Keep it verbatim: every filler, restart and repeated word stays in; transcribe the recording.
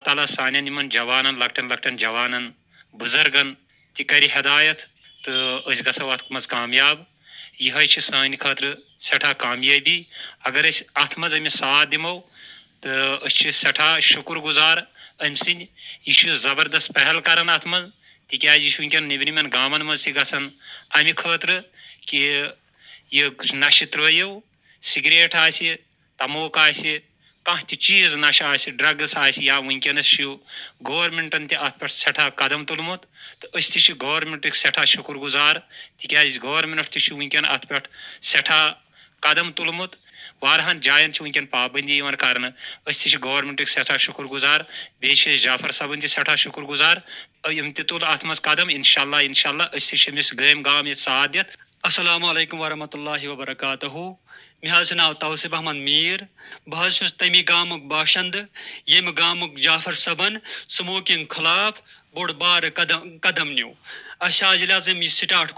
تعالیٰ سانٮ۪ن یِمَن جوانَن، لۄکٹٮ۪ن لۄکٹٮ۪ن جوانَن، بُزرگَن تہِ کَرِ ہدایت تہٕ أسۍ گژھو اَتھ منٛز کامیاب۔ یِہوٚے چھِ سانہِ خٲطرٕ سٮ۪ٹھاہ کامیٲبی۔ اگر أسۍ اَتھ منٛز أمِس ساتھ دِمو تہٕ أسۍ چھِ سٮ۪ٹھاہ شُکُر گُزار أمۍ سٕنٛدۍ۔ یہِ چھُ زبردست پہل کَران اَتھ منٛز، تِکیٛازِ یہِ چھُ وٕنکٮ۪ن نیٚبرِمٮ۪ن گامَن منٛز تہِ گژھان اَمہِ خٲطرٕ کہِ یہِ نشہٕ ترٛٲیِو، سگریٹ آسہِ، تموک آسہِ، کانٛہہ تہِ چیٖز نشہٕ آسہِ، ڈرگس آسہِ، یا وٕنکیٚنس چھُ گورنمنٹن تہِ اتھ پٮ۪ٹھ سٮ۪ٹھاہ قدم تُلمُت، تہٕ أسۍ تہِ چھِ گورنمنٹٕکۍ سٮ۪ٹھاہ شُکُر گُزار، تِکیازِ گورنمنٹ تہِ چھُ وٕنکیٚن اتھ پٮ۪ٹھ سٮ۪ٹھاہ قدم تُلمُت۔ واریاہن جاین چھِ وٕنکیٚن پابندی یِوان کرنہٕ۔ أسۍ تہِ چھِ گورنمنٹٕکۍ سٮ۪ٹھاہ شُکُر گُزار، بیٚیہِ چھِ أسۍ جعفر صٲبٕنۍ تہِ سٮ۪ٹھاہ شُکُر گُزار۔ یِم تہِ تُل اتھ منٛز قدم، انشاءاللہ، انشاءاللہ، أسۍ تہِ چھِ أمِس گٲمۍ گام ییٚتہِ ساتھ دِتھ۔ السلام علیکم ورحمۃ اللہ وبرکاتہ۔ مےٚ حظ چھُ ناو توصیف احمد میٖر۔ بہٕ حظ چھُس تَمی گامُک باشندٕ، ییٚمہِ گامُک جعفر صٲبن سموکنگ خلاف بوٚڑ بارٕ قدم، قدم نیوٗ۔ اَسہِ حظ ییٚلہِ حظ أمۍ یہِ سٹارٹ